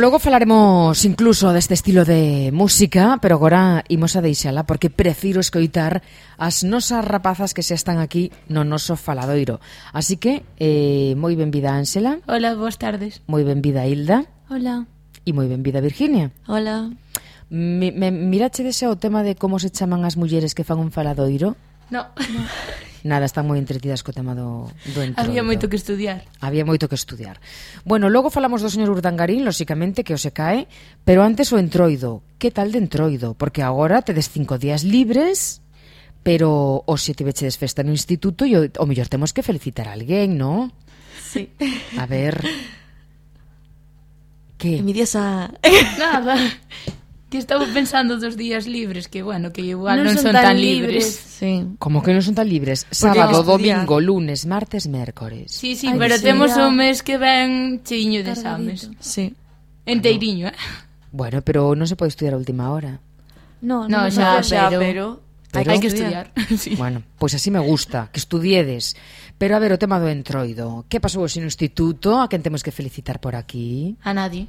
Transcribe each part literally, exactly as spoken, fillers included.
logo falaremos incluso deste estilo de música, pero agora imos a deixala porque prefiro escoitar as nosas rapazas que xa están aquí no noso faladoiro. Así que, eh, moi benvida Ángela. Hola, boas tardes. Moi benvida Hilda. Hola. E moi benvida Virginia. Hola. Mi, me, mirache dese o tema de como se chaman as mulleres que fan un faladoiro? No. no. Nada, están moi entretidas co tema do, do entroido. Había moito que estudiar. Había moito que estudiar. Bueno, logo falamos do señor Urdangarín, lóxicamente, que o se cae, pero antes o entroido. Que tal de entroido? Porque agora tedes cinco días libres, pero o se tivechedes festa no instituto e o, o mellor temos que felicitar a alguén, non? Sí. A ver... Que? Envidiosa. Nada. Que estaba pensando dos días libres, que bueno, que igual non, non son, son tan, tan libres. libres. Sí. Como que non son tan libres? Sábado, domingo, lunes, martes, mércores. Sí, sí, Ay, pero sí, temos ya. o mes que ven cheiño de exames. Sí. Enteiriño, eh? Bueno, pero non se pode estudiar a última hora. No, No, no, xa, xa, pero- pero... Hai que estudiar. Sí. Bueno, pois así me gusta, que estudiedes. Pero a ver, o tema do entroido. Que pasou hoxe no instituto? A quen temos que felicitar por aquí? A nadie.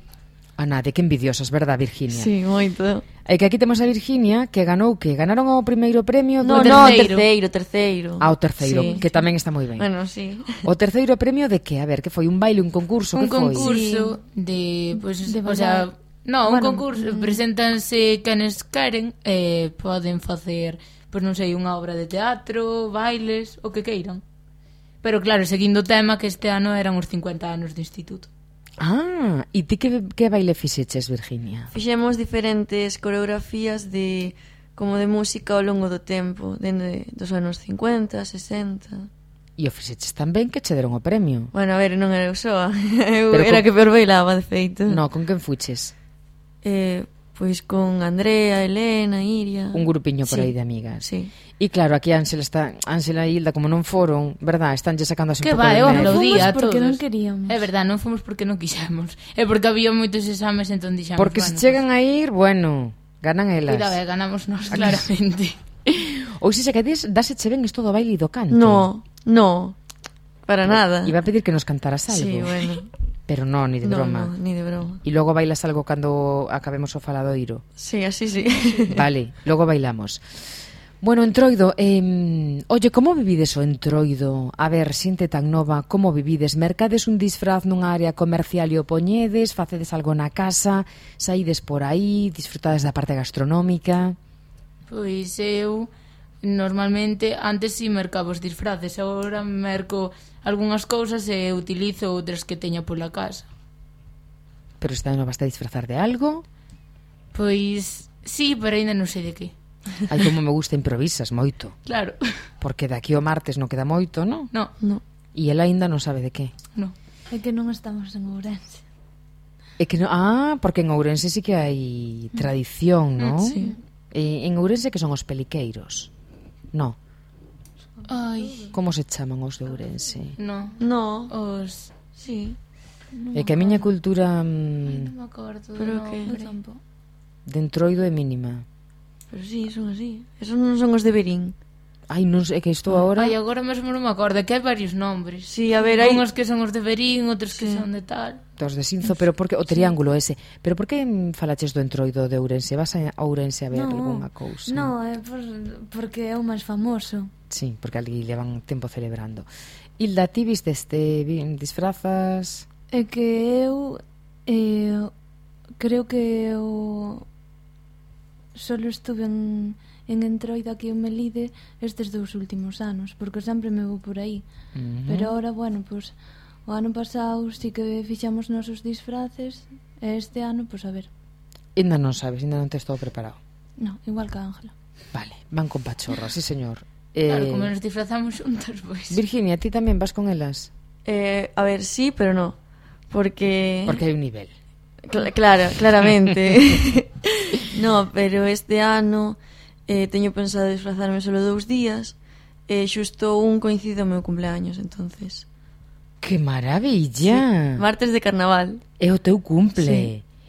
A nadie, que envidiosas, verdad, Virginia? Sí, moito. E que aquí temos a Virginia, que ganou, que ganaron o primeiro premio. No, do... no, terceiro. terceiro, terceiro. Ah, o terceiro, Sí. que tamén está moi ben. Bueno, sí. O terceiro premio de que? A ver, que foi? Un baile, un concurso? Un que foi? concurso de, pues, De o sea, no, un Bueno, concurso, mm. preséntanse quenes queren, eh, poden facer, pois non sei, unha obra de teatro, bailes, o que queiran. Pero claro, seguindo o tema que este ano eran os cincuenta anos do instituto. Ah, e ti que, que baile fixeches, Virginia? Fixemos diferentes coreografías de como de música ao longo do tempo, dende dos anos cincuenta, sesenta. E o fixeches tan ben que che deron o premio. Bueno, a ver, non era eu soa. Eu Pero era con- que peor bailaba, de feito. No, con quen fuches? Eh, pois con Andrea, Elena, Iria. Un grupiño por Sí. aí de amigas. Sí. E claro, aquí Ángela está, Ángela e Hilda como non foron, verdad, estánlle sacando así un Que pouco va, de eu mérito. aplaudía a Fomos porque todos. non queríamos. É verdad, non fomos porque non quixemos. É porque había moitos exames, entón dixamos, Porque se bueno, chegan a ir, bueno, ganan pues, elas. cuidado, eh, ganamos nós, claramente. Ou se se quedes, dáseche ben isto do baile e do canto. No, no. Para nada. Iba a pedir que nos cantaras algo. Sí, bueno. Pero no, ni de No, broma. no, ni de broma. E logo bailas algo cando acabemos o faladoiro. Sí, así sí. Vale, logo bailamos. Bueno, entroido, eh, oye, como vivides o entroido? A ver, xente tan nova, como vivides? Mercades un disfraz nunha área comercial e o poñedes? Facedes algo na casa? Saídes por aí? Disfrutades da parte gastronómica? Pois eu normalmente antes si mercaba os disfraces, agora merco algunhas cousas e utilizo outras que teña pola casa. Pero esta ano vas a disfrazar de algo? Pois sí, pero ainda non sei de que. Ai, como me gusta, improvisas moito. Claro. Porque daqui o martes non queda moito, non? No, No. E ela aínda non sabe de que. no. É que non estamos en Ourense. É que no, ah, porque en Ourense sí que hai tradición, non? Sí. E en Ourense que son os peliqueiros. No. Ai, Como se chaman os de Ourense? no. No. Os... Sí. É que a miña cultura Ai, mm, non me acordo. Pero no, que- Eu tampouco. de entroido é mínima. Pero sí, son así. Esos non son os de Berín. Ai, non sei, é que estou agora... Ai, agora mesmo non me acordo, que hai varios nombres. Sí, a ver, hai... Unhos que son os de Berín, outros que Sí. son de tal. Dos de Sinzo, pero porque o triángulo ese. Pero por que mm, falaches do entroido de Ourense? Vas a Ourense a ver No, algunha cousa? No, é por, porque é o máis famoso. Sí, porque ali levan tempo celebrando. Hilda, ti viste este vi- disfrazas? É que eu eh, creo que o solo estuve en, en Entroido aquí en Melide estes dous últimos anos, porque sempre me vou por aí. Uh-huh. Pero ahora, bueno, pues, o ano pasado sí que fixamos nosos disfraces e este ano, pues a ver. Ainda non sabes, ainda non tes todo preparado. No, igual que a Ángela. Vale, van con pachorra, sí señor. Claro, Eh, como nos disfrazamos xuntas, pois. Virginia, ti tamén vas con elas? Eh, a ver, sí, pero no. Porque... Porque hai un nivel. Cla- claro, claramente. No, pero este ano eh, teño pensado disfrazarme solo dous días e xusto un coincide o meu cumpleaños, entonces. Que maravilla! Martes de carnaval. É o teu cumple. Sí.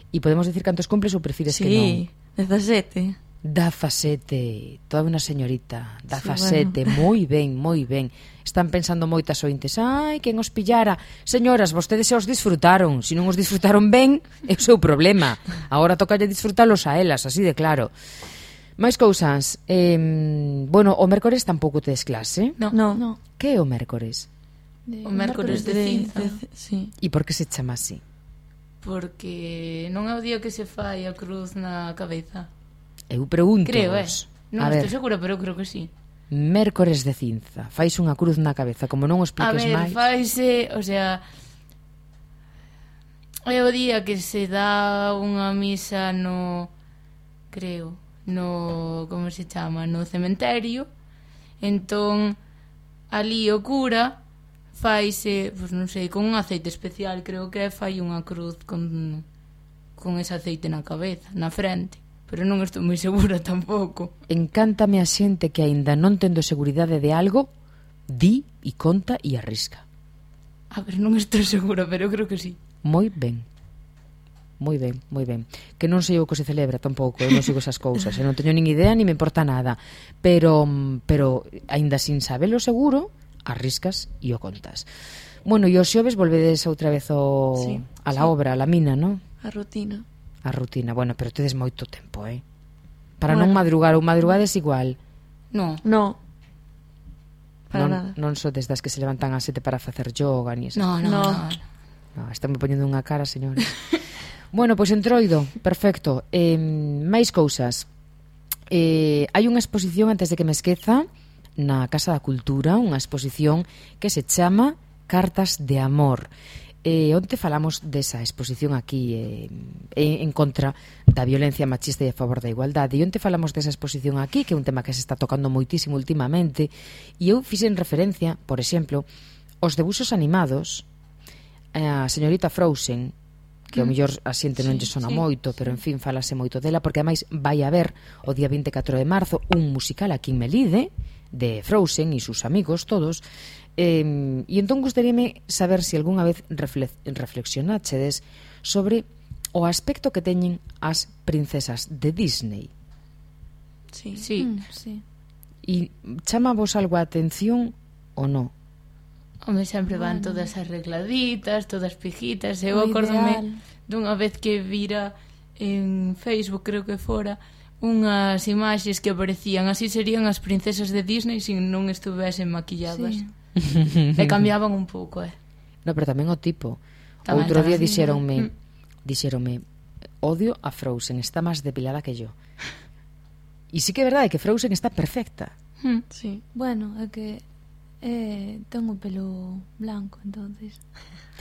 E podemos decir cantos cumples ou prefires que non? Sí, dezasete. dezasete, toda unha señorita, dezasete, Sí, bueno. moi ben, moi ben. Están pensando moitas ointes, ai, quen os pillara. Señoras, vostedes se os disfrutaron, se non os disfrutaron ben, é o seu problema. Agora tocalle disfrutalos a elas, así de claro. Mais cousas, eh, bueno, o mércores tampouco tedes clase. No. No. No. Que é o mércores? De, O mércores de cinza. de- sí. E por que se chama así? Porque non é o día que se fai a cruz na cabeza. Eu pregunto Creo, eh. vos. Non A estou ver, segura, pero eu creo que sí. mércores de cinza. Fais unha cruz na cabeza, como non o A expliques ver, máis. faise, o sea, é o día que se dá unha misa no, creo, no, como se chama, no cementerio. Entón, ali o cura faise, pois non sei, con un aceite especial, creo que fai unha cruz con con ese aceite na cabeza, na frente. Pero non estou moi segura tampouco. Encántame a xente que aínda non tendo seguridade de algo, di e conta e arrisca. A ver, non estou segura, pero eu creo que sí. Moi ben. Moi ben, moi ben. Que non sei o que se celebra tampouco, eu non sigo esas cousas, e non teño nin idea ni me importa nada. Pero pero aínda sin sabelo seguro, arriscas e o contas. Bueno, e os xoves volvedes outra vez o Sí, a la sí. obra, a la mina, ¿no? A rutina. A rutina. Bueno, pero tedes moito tempo, eh? Para Bueno. non madrugar, ou madrugades igual. Non. No. Para non, nada. non so desde as que se levantan ás sete para facer yoga ni esas. No, no, No. no. No, están me poñendo unha cara, señores. Bueno, pois entroido, perfecto. Eh, máis cousas. Eh, hai unha exposición, antes de que me esqueza, na Casa da Cultura, unha exposición que se chama Cartas de Amor. Eh, onte falamos desa exposición aquí eh, en contra da violencia machista e a favor da igualdade, e onte falamos desa exposición aquí, que é un tema que se está tocando moitísimo últimamente, e eu fixen referencia, por exemplo, aos debuxos animados, a señorita Frozen, que ao mellor a xente non lle sona sí, moito, pero en fin, falase moito dela, porque ademais vai haber o día vinte e catro de marzo un musical aquí en Melide de Frozen e sus amigos todos. Eh, e entón gustaríame saber se algunha vez reflex, reflexionáchedes sobre o aspecto que teñen as princesas de Disney. Sí. Sí. Mm, sí. E chama vos algo a atención ou non? Home, sempre van Bueno. todas arregladitas, todas pijitas. Eu O acórdome ideal. dunha vez que vira en Facebook, creo que fora, unhas imaxes que aparecían, así serían as princesas de Disney se non estuvesen maquilladas. Sí. E cambiaban un pouco, eh. No, pero tamén o tipo. Tamén, Outro día tamén. dixéronme, Mm. dixéronme, odio a Frozen, está máis depilada que yo. E sí que é verdade que Frozen está perfecta. Hmm. Sí. Bueno, é que eh, ten o pelo blanco, entonces.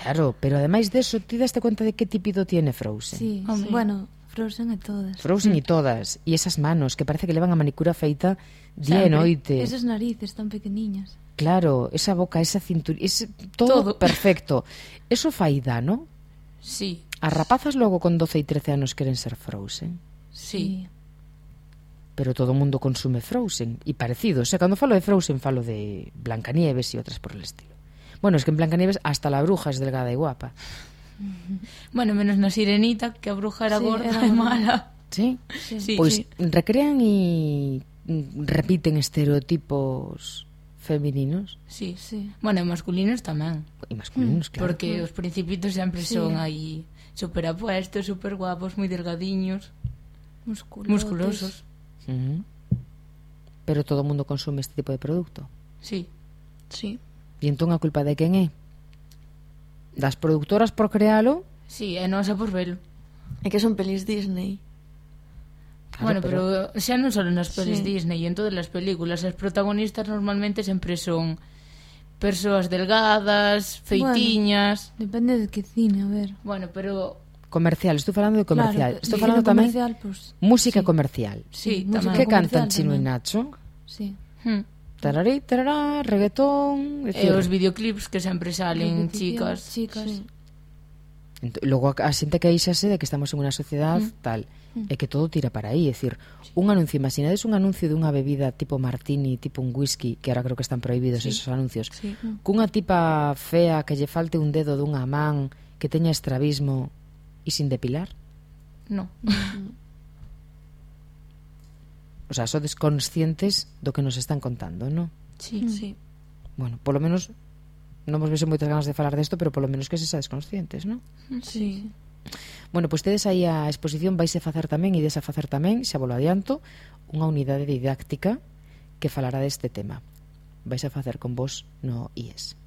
Claro, pero ademais deso, ti daste conta de que típido tiene Frozen? Sí, Home. bueno, Frozen e todas. Frozen e todas, e esas manos que parece que levan a manicura feita día e Sempre. noite. Esas narices tan pequeniñas. Claro, esa boca, esa cintura, ese, todo, Todo. perfecto. Eso fai dano? Sí, As rapazas logo con doce e trece anos queren ser Frozen, sí. pero todo o mundo consume Frozen e parecidos. E cando falo de Frozen falo de Blancanieves e outras por el estilo. Bueno, es que en Blancanieves hasta la bruja es delgada e guapa. Bueno, menos na Sirenita, que a bruja era Sí, gorda era e gorda. mala. Sí? Sí, Pois sí. recrean e mm, repiten estereotipos femininos Sí. Sí. Bueno, e masculinos tamén. e masculinos, claro. Porque os principitos sempre Sí. son aí super apuestos, super guapos, moi delgadiños, Musculotes. musculosos. Ujú. Pero todo o mundo consume este tipo de producto. Sí. Sí. E entón a culpa de quen é? Das productoras por crealo? Sí, é nosa por velo. É que son pelis Disney. Claro, Bueno, pero, xa non só nas pelis Sí. Disney, en todas as películas as protagonistas normalmente sempre son persoas delgadas, feitiñas. Depende de que cine, a ver. Bueno, pero Comercial, estou falando de comercial. Claro, estou cine falando tamén comercial, pues, música sí. comercial. sí, música tamén. Que cantan comercial Chino e tamén. Nacho? sí. Hmm. Tararí, tarará, reggaetón, E decir, os videoclips que sempre salen Repetición, chicas. Chicas. Sí. Ent- logo a, a xente queixase de que estamos en unha sociedade Mm. tal, e que todo tira para aí, é dicir, un anuncio, imaginades un anuncio dunha bebida tipo martini, tipo un whisky, que ahora creo que están prohibidos Sí. esos anuncios, Sí. cunha tipa fea que lle falte un dedo dunha man, que teña estrabismo e sin depilar. No. O sea, sodes conscientes do que nos están contando, non? Sí. Sí. Bueno, polo menos non vos vexo moitas ganas de falar desto, pero polo menos que se sades conscientes, non? Sí. Bueno, pois tedes aí a exposición, vais a facer tamén, ides a facer tamén, xa volo adianto, unha unidade didáctica que falará deste tema. Vais a facer con vos no I E S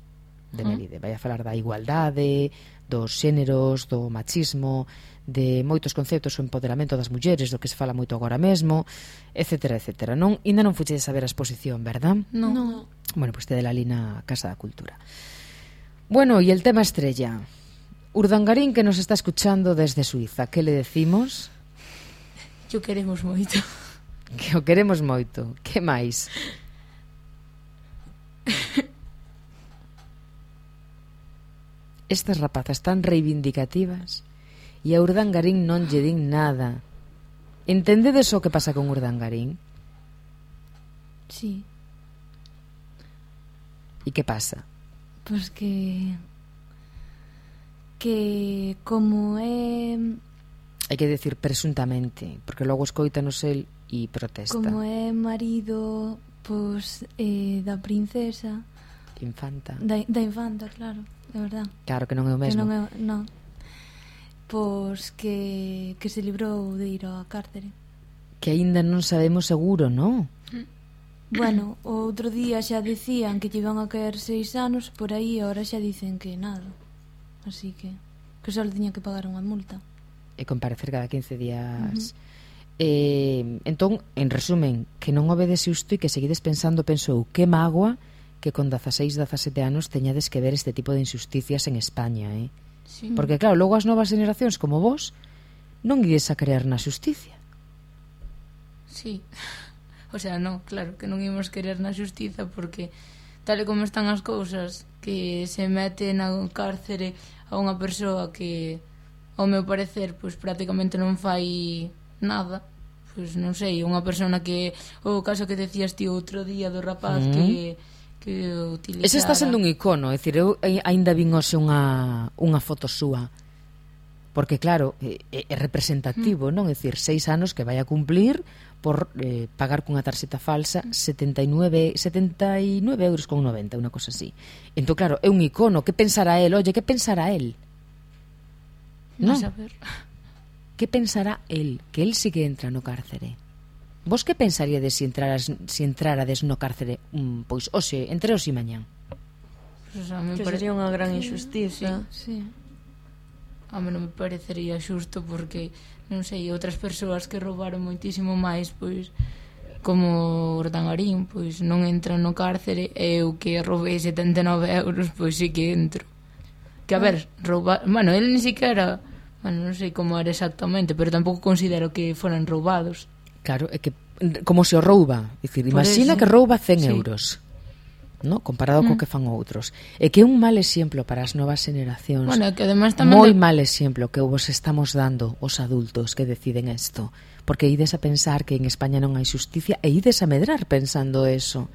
de Melide. Vai a falar da igualdade, dos xéneros, do machismo, de moitos conceptos, o empoderamento das mulleres, do que se fala moito agora mesmo, etcétera, etcétera. Non, ainda non fuchedes a ver a exposición, verdad? No. No. Bueno, pues te de la Lina Casa da Cultura. Bueno, y el tema estrella. Urdangarín, que nos está escuchando desde Suiza, ¿qué le decimos? Yo queremos moito. Que o queremos moito. Que máis? Estas rapazas tan reivindicativas e a Urdangarín non lle din nada. Entendedes o que pasa con Urdangarín? Sí, E que pasa? pois que que como é Hai que decir presuntamente, porque logo escoítanos el e protesta. como é marido pois eh, da princesa, Infanta. da, da infanta, claro, é verdad. Claro que non é o Que mesmo. non é, non. Pois que que se librou de ir á cárcere. Que aínda non sabemos seguro, non? Bueno, o outro día xa dicían que lle iban a caer seis anos, por aí ahora xa dicen que nada. Así que que só le tiña que pagar unha multa. E comparecer cada quince días. Uh-huh. eh, entón, en resumen, que non obedece isto e que seguides pensando, penso eu, que mágoa que con dezaseis, dezasete anos teñades que ver este tipo de injusticias en España, eh? Sí. Porque claro, logo as novas generacións como vos non ides a creer na xusticia. Sí. O sea, no, claro, que non imos querer na xustiza porque tal e como están as cousas, que se mete na cárcere a unha persoa que, ao meu parecer, pois prácticamente non fai nada. Pois non sei, unha persona que, o caso que decías ti outro día do rapaz Mm. que que utilizara. Ese está sendo un icono, é dicir, eu aínda vin hoxe unha, unha foto súa. Porque claro, é, é representativo, non? É dicir, seis anos que vai a cumplir por eh, pagar cunha tarxeta falsa setenta e nove euros con noventa, unha cosa así. Entón, claro, é un icono. Que pensará el? Oye, que pensará el? Non Non? saber. Que pensará el? Que el sí que entra no cárcere. Vos que pensaríades se entraras, se entrarades no cárcere mm, pois hoxe, entre hoxe e mañán? Pois, a mí me Que pare- sería unha gran injustiza. Sí. A mí non me parecería xusto porque, non sei, outras persoas que roubaron moitísimo máis, pois, como Urdangarín, pois non entran no cárcere, e eu que roubei setenta e nove euros, pois sí que entro. Que a ver, roubar... Bueno, ele ni siquiera... Bueno, non sei como era exactamente, pero tampouco considero que foran roubados. Claro, é que como se o rouba, é dicir, Por imagina eso. que rouba cen Sí. euros, no? Comparado Mm. co que fan outros. É que é un mal exemplo para as novas generacións. Bueno, que además tamén... Moi de- mal exemplo que vos estamos dando os adultos que deciden isto, porque ides a pensar que en España non hai xusticia e ides a medrar pensando eso.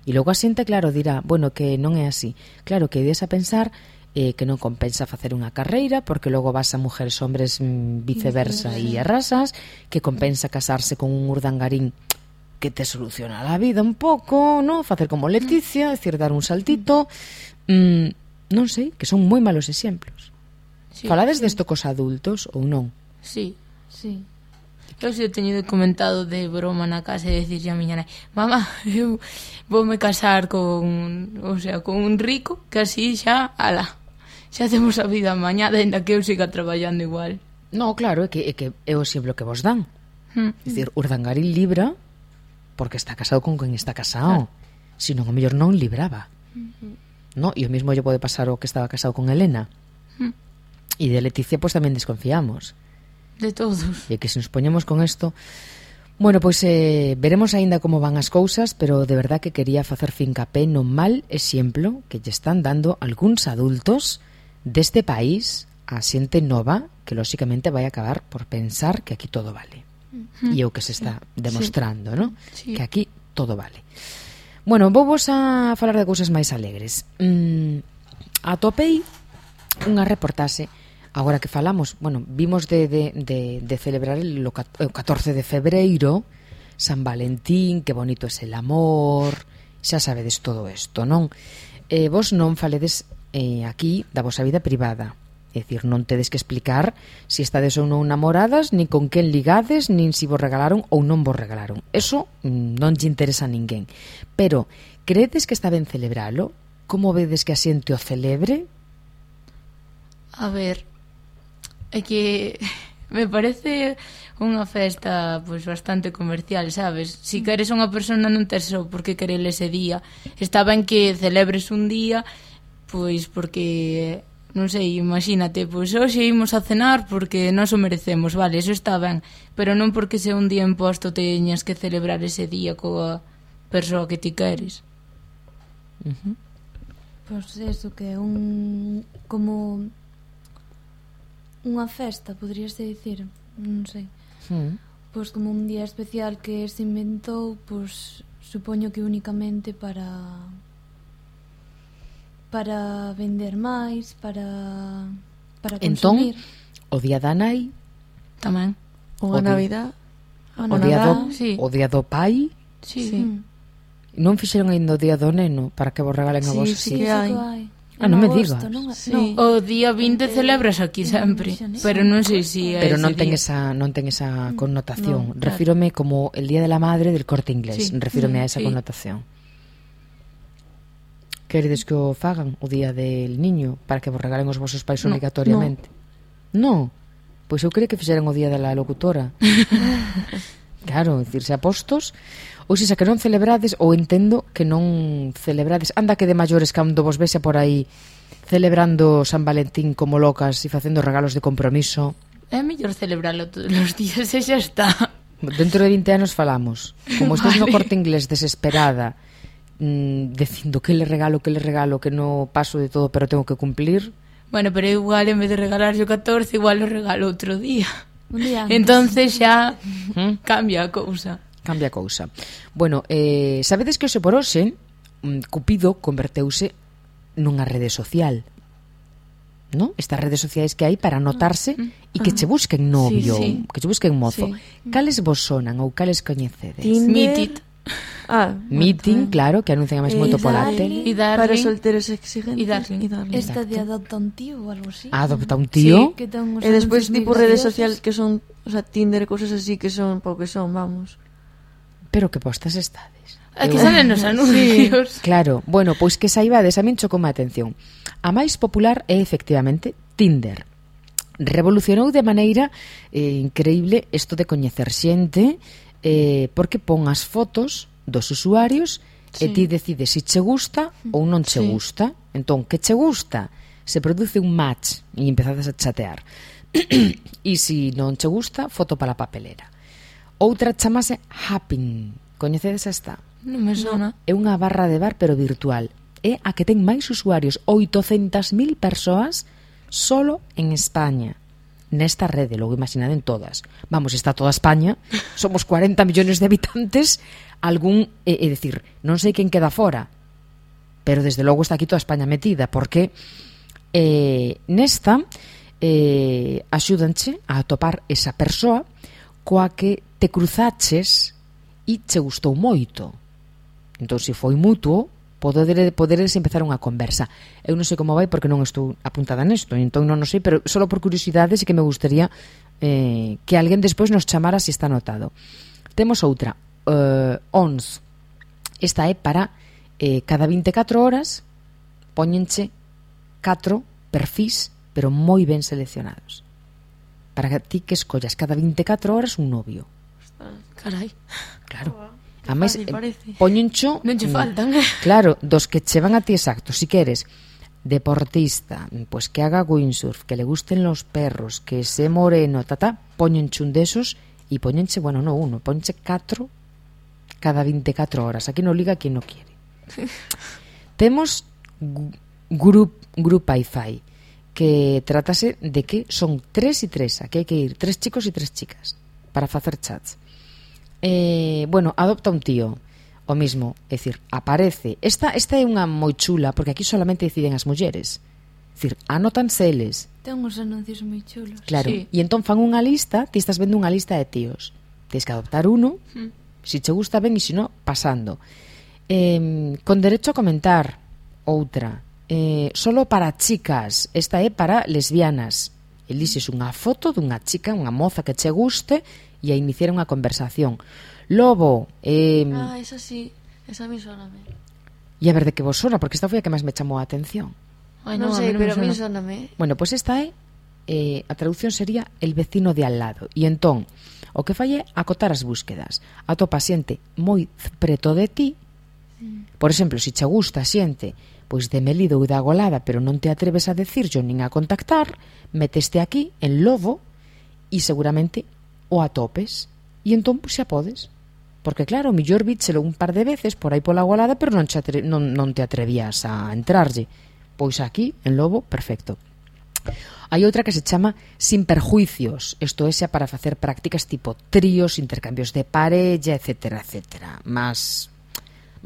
E logo a xente, claro, dirá, bueno, que non é así. Claro, que ides a pensar eh, que non compensa facer unha carreira porque logo vas a mujeres, hombres, mm, viceversa e arrasas, que compensa casarse con un urdangarín que te soluciona la vida un pouco, ¿no? Facer como Leticia, decir, dar un saltito, mm, non sei, que son moi malos exemplos. Sí, Falades sí. desto cos adultos ou non? Sí. Sí. Eu se teño comentado de broma na casa e decirlle a miña nai, mamá, eu voume casar con, o sea, con un rico que así xa, ala, xa hacemos a vida mañá, ainda que eu siga traballando igual. No, claro, é que, é que é o exemplo que vos dan. Hmm. É dicir, Urdangarín libra porque está casado con quen está casado. Si non, o mellor non libraba. No, e o mismo lle pode pasar o que estaba casado con Elena. Hmm. E de Leticia, pois tamén desconfiamos. De todos. E que se nos poñemos con isto... Bueno, pois eh, veremos aínda como van as cousas, pero de verdad que quería facer fincapé no mal exemplo que lle están dando algúns adultos deste país a xente nova que lóxicamente vai acabar por pensar que aquí todo vale. E é o que se está demostrando, ¿no? Sí. Que aquí todo vale. Bueno, vou vos a falar de cousas máis alegres. Mm, atopei unha reportaxe. Agora que falamos, bueno, vimos de, de, de, de celebrar el, o catorce de febreiro, San Valentín, que bonito é el amor, xa sabedes todo isto, non? Eh, vos non faledes eh, aquí da vosa vida privada. É dicir, non tedes que explicar se estades ou non namoradas, nin con quen ligades, nin se vos regalaron ou non vos regalaron. Eso mm, non lle interesa a ninguén. Pero, credes que está ben celebralo? Como vedes que a xente o celebre? A ver, é que me parece unha festa pois bastante comercial, sabes? Si queres unha persona non tes só por que querer ese día. Está ben que celebres un día, pois porque... non sei, imagínate, pois hoxe imos a cenar porque nós o merecemos, vale, eso está ben, pero non porque sea un día imposto teñas que celebrar ese día coa persoa que ti queres. Uh-huh. Pois eso, que é un... como... unha festa, poderíase dicir, non sei. Uh-huh. Pois como un día especial que se inventou, pois supoño que únicamente para... para vender máis, para para consumir. Entón, o día da nai, Tamén. Unha O di- Navidad. O o día do, Nadal, sí. o día do pai, Sí. Sí. Mm. non fixeron ainda o día do neno para que vos regalen a Sí, vos sí así. que Iso hai. que hai. Ah, En non me agosto, digas. non? Sí. No. O día vinte celebras aquí sempre, pero non sei se é Pero non ese ten día. esa non ten esa connotación. No, claro. Refírome como el día de la madre del Corte Inglés. Sí. Refírome a Mm, esa sí. connotación. Queredes que o fagan o día del niño para que vos regalen os vosos pais No, obrigatoriamente? No. Pois eu creo que fixeran o día da locutora. Claro, decirse apostos. Ou se xa que non celebrades, ou entendo que non celebrades. Anda que de maiores cando vos vese por aí celebrando San Valentín como locas e facendo regalos de compromiso. É mellor celebrarlo todos os días e xa está. Dentro de vinte anos falamos. Como estes no Vale. Corte Inglés desesperada, mm, dicindo que le regalo, que le regalo, que no paso de todo pero tengo que cumplir. Bueno, pero igual en vez de regalar yo catorce, igual lo regalo outro día. Un día antes. Entonces xa ¿Mm? cambia a cousa. Cambia a cousa. Bueno, eh, sabedes que hoxe por hoxe mm, Cupido converteuse nunha rede social, ¿no? Estas redes sociais que hai para anotarse e que che busquen novio, Sí, sí. que che busquen mozo. Sí. Cales vos sonan ou cales coñecedes? Tinder. Meet it. Ah, Meeting, bueno, claro, que anuncian máis moito Eh, pola Darling. tele. E Para darling. solteros exigentes. Y darling. Y darling. Esta de Exacto. adopta un tío ou algo así. Adopta un tío. Que ten uns E despois anuncios tipo moi redes graciosos. sociales que son, o sea, Tinder e cosas así que son pouco que son, vamos. Pero que postas estades. Aquí Eu- salen os anuncios. Claro, bueno, pois que saibades, a min chocoume a atención. A máis popular é efectivamente Tinder. Revolucionou de maneira eh, increíble isto de coñecer xente, eh, porque pon as fotos dos usuarios e Sí. ti decides se che gusta ou non che Sí. gusta. Entón, que che gusta? Se produce un match e empezades a chatear. E se non che gusta, foto para a papelera. Outra chamase Happn. Coñecedes esta? Non me sona. É unha barra de bar pero virtual. É a que ten máis usuarios, oitocentas mil persoas solo en España. Nesta rede, logo imaginade en todas. Vamos, está toda España, somos cuarenta millones de habitantes, algún, é, é dicir, non sei quen queda fora, pero desde logo está aquí toda España metida, porque eh, nesta eh, axúdanche a atopar esa persoa coa que te cruzaches e che gustou moito. Entón, se foi mutuo, poder, poderes empezar unha conversa. Eu non sei como vai porque non estou apuntada nesto, entón non o sei, pero só por curiosidade sí que me gustaría eh, que alguén despois nos chamara se está anotado. Temos outra, uh, O N S. Esta é para eh, cada vinte e catro horas póñenche catro perfís, pero moi ben seleccionados. Para que ti que escollas cada vinte e catro horas un novio. Carai. Claro. A máis, fácil parece. poñencho Non che faltan. claro, dos que che van a ti exacto. Si queres deportista, pues que haga windsurf, que le gusten los perros, que se moreno, tata, poñenche un desos e poñenche, bueno, no uno, poñenche catro cada vinte e catro horas. Aquí no liga quien no quiere. Temos gu- Group, Group Wi-Fi, que tratase de que son tres e tres, aquí hai que ir tres chicos e tres chicas para facer chats. Eh, bueno, adopta un tío, o mismo, é dicir, aparece. Esta, esta é unha moi chula, porque aquí solamente deciden as mulleres. É dicir, anótanse eles. Ten uns anuncios moi chulos. Claro, Sí. e entón fan unha lista, ti estás vendo unha lista de tíos. Tens que adoptar uno, Si che gusta ben e se no, pasando. Eh, con derecho a comentar, outra. Eh, solo para chicas, esta é para lesbianas. Elixes unha foto dunha chica, unha moza que che guste e a iniciar unha conversación. Lobo, eh, Ah, esa sí, esa me sona a mí. e a ver de que vos sona, porque esta foi a que máis me chamou a atención. Ay, non, sei, pero a mí sona a mí. Bueno, pois pues esta é, eh, a traducción sería el vecino de al lado. E entón, o que fai é acotar as búsquedas. Atopa xente moi preto de ti. Por exemplo, se che gusta xente pois de Melide ou da Golada, pero non te atreves a decirlo nin a contactar, meteste aquí en Lobo e seguramente o atopes. E entón, pois xa podes. Porque claro, o millor víchelo un par de veces por aí pola Golada, pero non, atre- non, non te atrevías a entrarlle. Pois aquí, en Lobo, perfecto. Hai outra que se chama Sin Perjuicios. Isto é xa para facer prácticas tipo tríos, intercambios de parella, etcétera, etcétera. Más,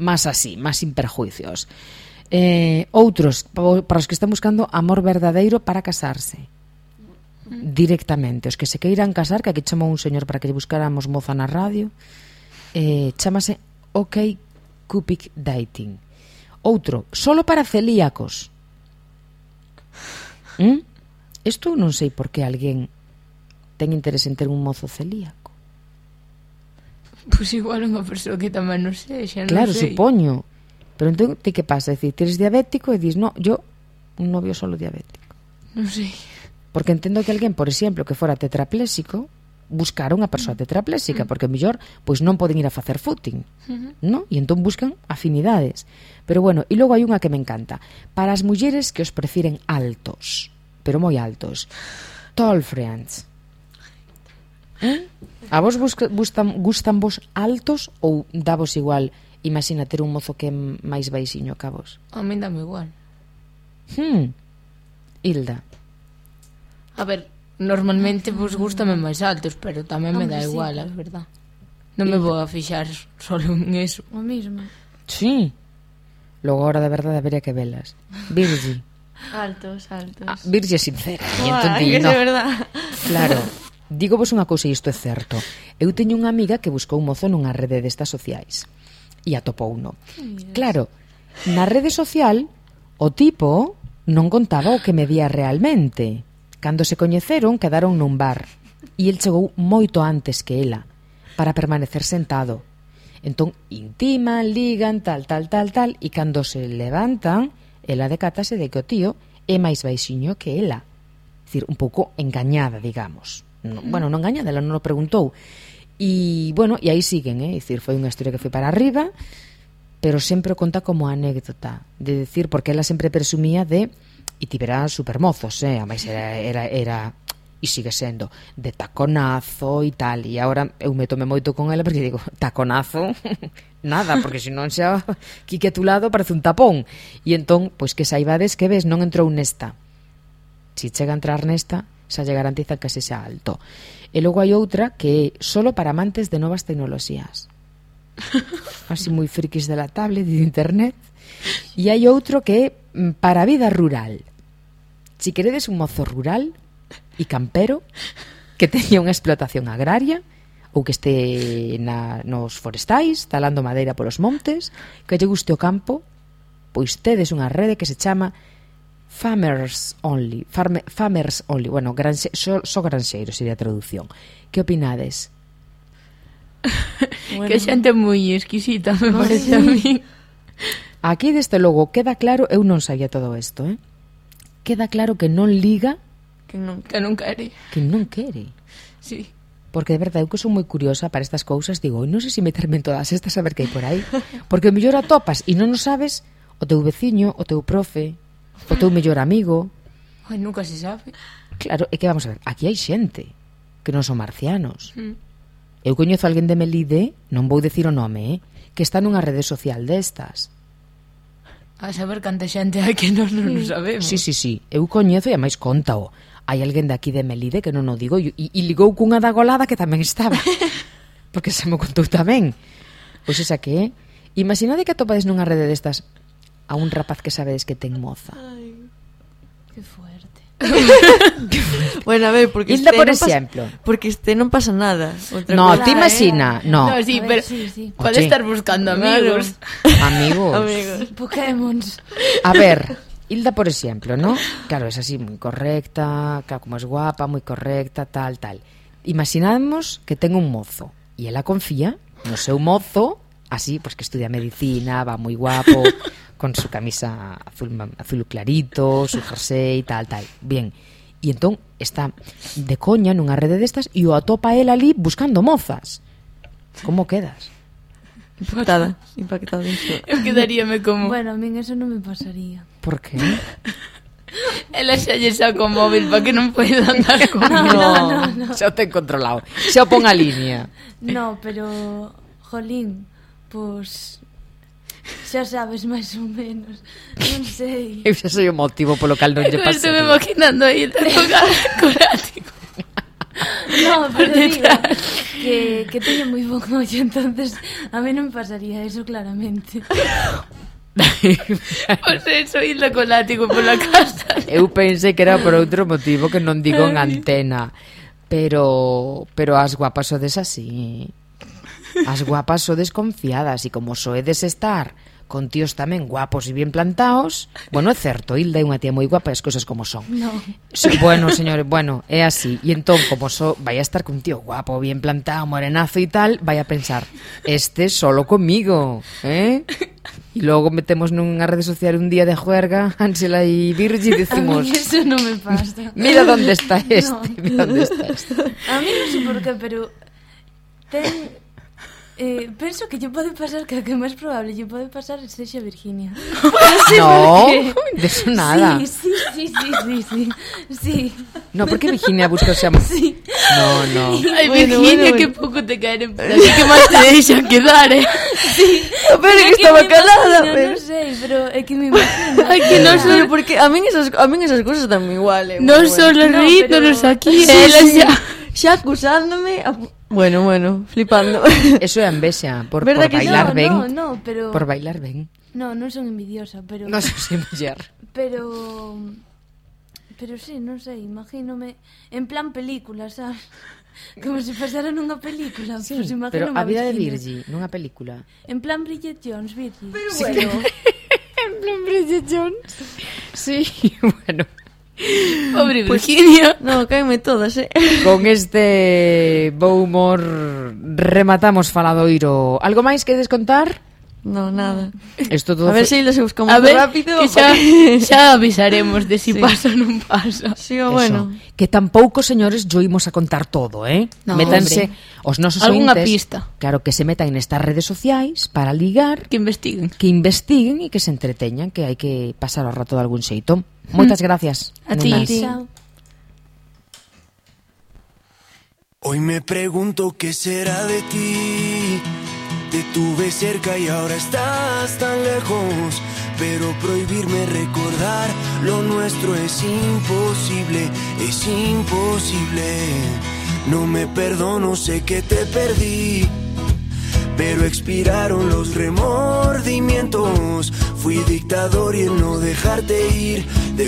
más así, más sin perjuicios. Eh, outros, para os que están buscando amor verdadeiro para casarse. Directamente. Os que se queiran casar, que aquí chamou un señor para que lle buscáramos moza na radio, eh, chamase OK Cupid Dating. Outro, solo para celíacos. ¿Mm? Isto non sei por que alguén ten interés en ter un mozo celíaco. Pois igual unha persoa que tamén non sei, xa non Claro, sei. supoño. Pero entón, ti que pasa? É dicir, eres diabético e dis, no, yo, un novio solo diabético. Non sei. Porque entendo que alguén, por exemplo, que fora tetrapléxico, buscar unha persoa tetrapléxica, porque mellor pois non poden ir a facer footing, Uh-huh. ¿no? E entón buscan afinidades. Pero bueno, e logo hai unha que me encanta. Para as mulleres que os prefiren altos, pero moi altos. Tall friends. ¿Eh? A vos busca, gustan, gustan vos altos ou davos igual? Imagina ter un mozo que é máis baixiño que a vos. A mí dame igual. Hmm. Hilda. A ver, normalmente vos gustame máis altos, pero tamén me dá Hombre, sí, igual, claro. a verdad. Non me vou a fixar solo en eso. O mismo. Sí. Logo ahora de verdade habería que velas. Virgi. Altos, altos. Ah, Virgi é sincera. E Buah, entón di, que no. de verdad. Claro. Digo vos unha cousa e isto é certo. Eu teño unha amiga que buscou un mozo nunha rede destas sociais. E atopou uno. Claro, na rede social o tipo non contaba o que medía realmente. Cando se coñeceron, quedaron nun bar. E el chegou moito antes que ela, para permanecer sentado. Entón, intiman, ligan, tal, tal, tal, tal, e cando se levantan, ela decátase de que o tío é máis baixiño que ela. É dicir, un pouco engañada, digamos. No, bueno, non engañada, ela non o preguntou. E, bueno, e aí siguen, eh? É dicir, foi unha historia que foi para arriba, pero sempre o conta como anécdota, de decir, porque ela sempre presumía de, e tivera supermozos, eh? A máis era, era, era e sigue sendo de taconazo e tal, e agora eu me tome moito con ela porque digo, taconazo nada, porque se non xa que que a tu lado parece un tapón, e entón, pois que saibades que ves, non entrou nesta, se chega a entrar nesta xa lle garantizan que se xa alto. E logo hai outra que é solo para amantes de novas tecnoloxías, así moi frikis de la tablet e de internet. E hai outro que é para a vida rural. Si queredes un mozo rural e campero que teña unha explotación agraria ou que este na, nos forestais talando madeira polos montes, que lle guste o campo, pois tedes unha rede que se chama Farmers Only, Farme, Farmers Only, bueno, granxe, so, so granxeiros sería a traducción. Que opinades? Bueno. Que xente moi exquisita, me parece a mí. Aquí, desde logo, queda claro, eu non sabía todo isto, eh? Queda claro que non liga, Que non. Que non quere. que non quere. Sí. Porque de verdade, eu que sou moi curiosa para estas cousas, digo, non sei se meterme en todas estas a ver que hai por aí, porque o mellor atopas e non o sabes o teu veciño, o teu profe, o teu mellor amigo. Ai, nunca se sabe. Claro, é que vamos a ver, aquí hai xente que non son marcianos. Mm. Eu coñezo a alguén de Melide, non vou dicir o nome, eh, que está nunha rede social destas. A saber canta xente hai que nós non o sabemos. Sí, sí, sí, eu coñezo e a máis contao. Hai alguén de aquí de Melide que non o digo e, e ligou cunha da Golada que tamén estaba. Porque se me contou tamén. Pois esa que é. Imaginade que atopades nunha rede destas a un rapaz que sabedes que ten moza. Ay. Que fuerte. Bueno, a ver, porque Hilda, este por non pasa- exemplo. Porque este non pasa nada. Outra No, cosa- te imagina, no. No, sí, A ver, pero sí, sí. puede Oye. estar buscando amigos. Amigos. Amigos. Pokémons. A ver, Hilda, por exemplo, ¿no? Claro, es así, moi correcta, claro, como es guapa, moi correcta, tal, tal. Imaginamos que ten un mozo e ela confía no seu mozo, así, pues que estudia medicina, va moi guapo, con su camisa azul, azul clarito, su jersey, tal, tal. Bien. E entón está de coña nunha rede destas e o atopa él ali buscando mozas. Como quedas? Impactada, impactada. Eu quedaríame como... Bueno, a min eso non me pasaría. Por qué? Ela xa lle saca o móvil para que non poida andar con... No, no, no, no. Xa o ten controlado. Xa o pon a línea. No, pero, jolín, pues xa sabes máis ou menos. Non sei. Eu xa sei o motivo polo cal non lle Eu pasei. estuve imaginando aí te tocar con ático. No, pero digo que, que teño moi bon ollo, entonces a mí non me pasaría eso claramente. Pois eso, Hilda con látigo pola casa. Eu pensei que era por outro motivo que non digo en antena. Pero pero as guapas sodes así. As guapas sodes confiadas e como soedes estar con tíos tamén guapos e bien plantados. Bueno, é certo, Hilda é unha tía moi guapa e as cousas como son. No. Sí, bueno, señores, bueno, é así. E entón, como so, vai a estar con un tío guapo, bien plantado, morenazo e tal, vai a pensar, este solo comigo, ¿eh? E logo metemos nunha rede social un día de juerga, Ángela e Virgi, e A decimos, mí eso non me pasa. mira onde está este, No. mira onde está este. A mí non sei por qué, pero ten... Eh, penso que lle pode pasar que a que máis probable lle pode pasar é sexa Virginia. Non sei No, por qué. de eso nada. Sí, sí, sí, sí, sí, sí. Sí. No, porque Virginia busca o sea... Sí. No, no. Ai, Bueno, Virginia, bueno, que bueno. pouco te caen. Así que máis te deixan quedar, eh. Pero que É estaba me calada, imagino, pero... Non sei, pero é que me imagino. Ai, que non son... Pero porque a min esas, a min esas cousas están igual, eh. Non bueno, son bueno. los No, rítolos pero- aquí, Sí, ela sí. xa... Xa acusándome a... Bueno, bueno, flipando. Eso é envexa, por, Verdad por que bailar no, ben. No, no, pero... Por bailar ben. No, non son envidiosa, pero... Non sei muller. Pero... Pero sí, non sei, imagínome en plan película, sabes? Como se pasara nunha película. Sí, pues pero imagínome a vida de Virginia. Virgi, nunha película. En plan Bridget Jones, Virgi. Pero bueno, En plan Bridget Jones. Sí, bueno. Pobre Virginia. no, caeme todas, eh. Con este bo humor rematamos faladoiro. Algo máis que descontar? No, nada. Isto todo A ver foi- se se buscamos A ver, rápido. que xa, xa avisaremos de si Sí. pasa ou non pasa. Sí, o Eso. bueno. Que tampouco, señores, yo imos a contar todo, eh? No, Métanse hombre. os nosos Algunha ointes, pista. claro, que se metan nestas redes sociais para ligar, Que investiguen. que investiguen e que se entreteñan, que hai que pasar o rato de algún xeito. Moitas gracias. A ti. nenas. Chao. Hoy me pregunto qué será de ti. Te tuve cerca y ahora estás tan lejos. Pero prohibirme recordar lo nuestro es imposible, es imposible. No me perdono, sé que te perdí, pero expiraron los remordimientos. Fui dictador y el no dejarte ir. De